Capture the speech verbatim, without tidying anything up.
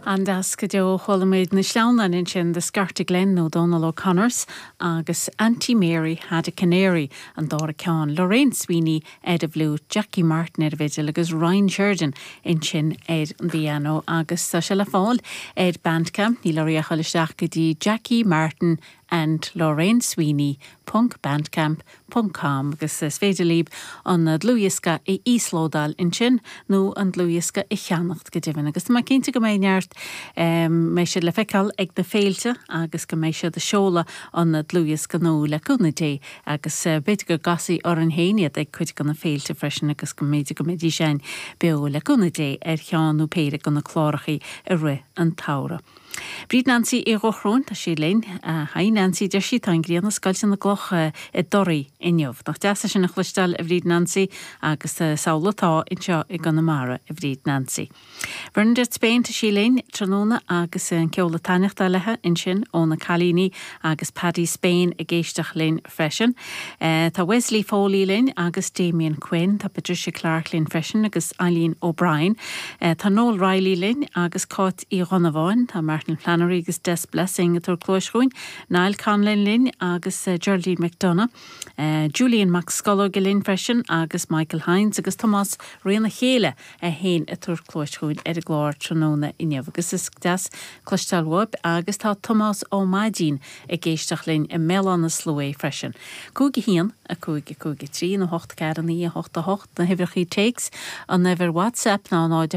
An-deas go deo chuala muid na sleamhnáin ansin de Scartaglin nó Donal O'Connors agus Auntie Mary had a canary an dara ceann Lorraine Sweeney ar an bhfliúit Jackie Martin ar an bhfidil agus Ryan Sheridan ansin ar an bpianó agus tá sé le fáil ar Bandcamp níl oraibh ach dul isteach go dtí Jackie Martin and Lorraine Sweeney .bandcamp ponc com agus is féidir libh an dlúthdhiosca a íoslódáil ansin nó an dlúthdhiosca a cheannacht go deimhin agus Tá cinnte go mbeidh neart mbeidh siad le feiceáil ag na féilte agus go mbeidh siad ag seoladh an dlúthdhiosca nua le cúnamh Dé agus b'fhéidir go gcasfaí orainn féin iad ag cuid de na féilte freisin agus go mb'fhéidir go mbeidís ann beo le cúnamh Dé ar cheann nó péire de na cláracha i rith an tsamhraidh. Bríd Nancy i gCochróin tá sí linn Haigh Nancy deir sí tá an ghrian ag scoilteadh na gcloch i dToraí inniu. Nach deas sin a chloisteáil a Bhríd Nancy agus samhlaigh atá anseo i gConamara a Bhríd Nancy. Bernadette Spain tá sí linn tráthnóna agus an ceol ag taitneacht léi ansin ó na cailíní agus Paddy Spain ag éisteacht linn freisin. Uh, tá Wesley Foley linn agus Damien Quinn, tá Patricia Clark linn freisin agus Eileen O'Brien. Uh, tá Noel Riley linn agus Cáit Uí Dhonnabháin, tá Martin Flannery agus Des Blessing a tabhairt cluas chugainn, Niall Conlon linn agus uh, Geraldine McDonough, uh, Julian Mac Scológ linn freisin agus Michael Hines agus Tomás Riana Chéile a haon a tabhairt cluas chugainn ar an gclár tráthnóna inniu agus is deas cloisteáil uaibh agus tá Tomás Ó Maidín ag éisteacht linn i mBéal Átha na Sluaighe freisin. Cúig a haon a cúig a cúig a trí nó hocht ceathair naoi a hocht a hocht na huimhreacha téacs an uimhir WhatsApp ná ná